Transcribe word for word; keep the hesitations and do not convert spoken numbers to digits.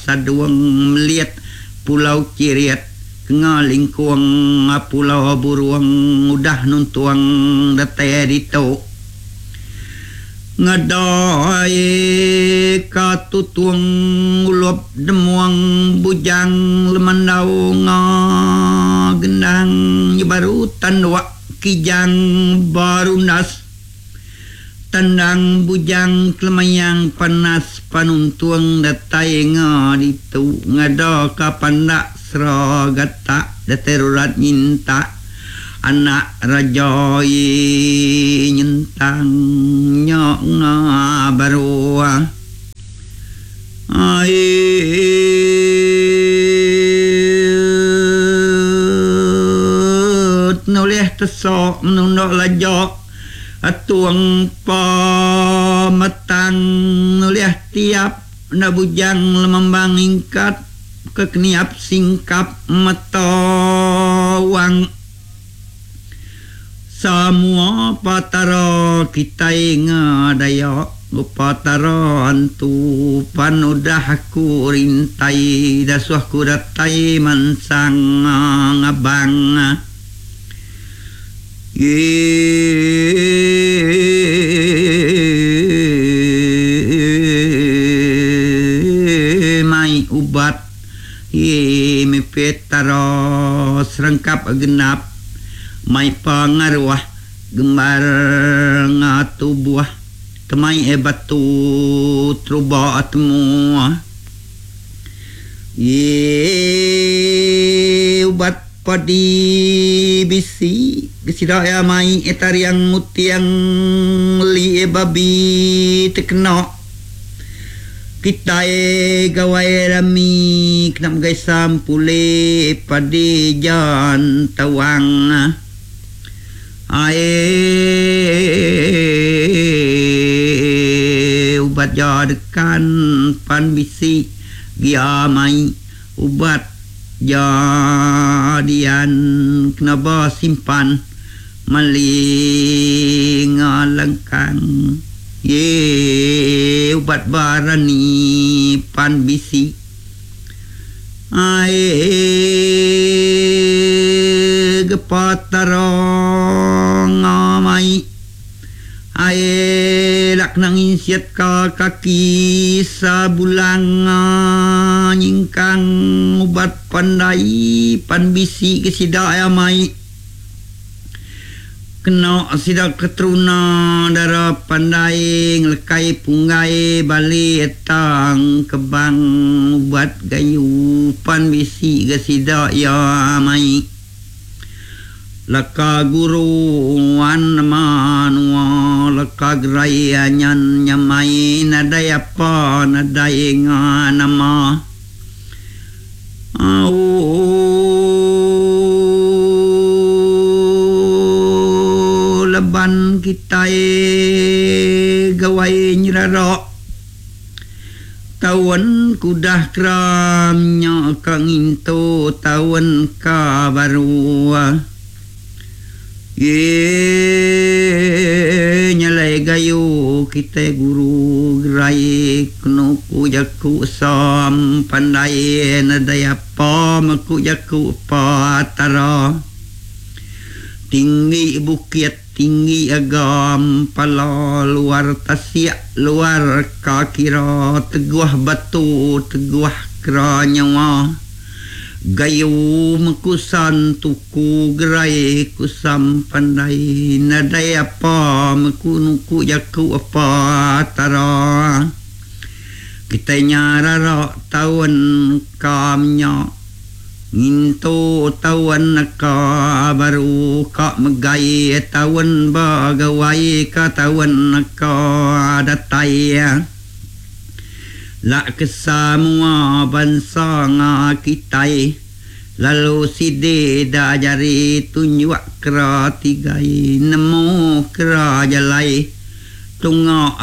Sadung Melit Pulau Kirit Kenga Lingkung Pulau Burung udah nuntung datai ditu ngadai ka tutung ulup demuang bujang lemandau nga gendang baru tanduk kijang barunas tandang bujang kelemayang panas panuntung datai nga ditu ngada ka pandak seragatak datai rurat nyintak anak raja nyentang nya nga baru ai nulih tesok menunduk lajak atuang pametang nulih tiap nak bujang lemambang ingkat kekeniap singkap mata wang semua patara kitai ngadaya upatara antu pan udah aku rintai dasuh ku datai mansang ngabang ye mai ubat ye mipetara serengkap genap mai pangaruh gembar ngatubuh temai e batu teruba temu ye ubat padi bisi gesida ya mai e tariang mutiang li e babi tekena kita e gawai rami kena megai sampule padi jan tawang ai ubat jadekan pan bisi gia mai ubat jadian kena simpan mali ngalengkang ye ubat barani pan bisi ai gepatarong ngamai ai lak nang insiat ka kaki sabulang nyingkang ubat pandai pan bisi ke sida ya mai kena sida keteruna dara pandai ngelekai punggai bali etang kebang ubat gayu pan bisi ke sida ya mai laka guru wan manua laka gerai nyan nyamai nadai apa nadai nama au leban kita gawai nyerarok taun kudah keramnya ka ngintu taun ka baru ye nyalai gayu kita guru gerai kenu ku jaku sam pandai nadai apa meku jaku patara tinggi bukit tinggi agam pala luar tasiak luar kakira teguh batu teguh kera nyawa gayu mekusan tuku gerai kusam pandai nadai apa meku nuku jaku apa tara kita nyarara taun kamnya ngintu taun ka baru ka megai taun bagawai ka taun ka datai lak kesemua bangsa nga kitai lalu sidi dah jari tunjuk kera tigai nemu kera jalai tunga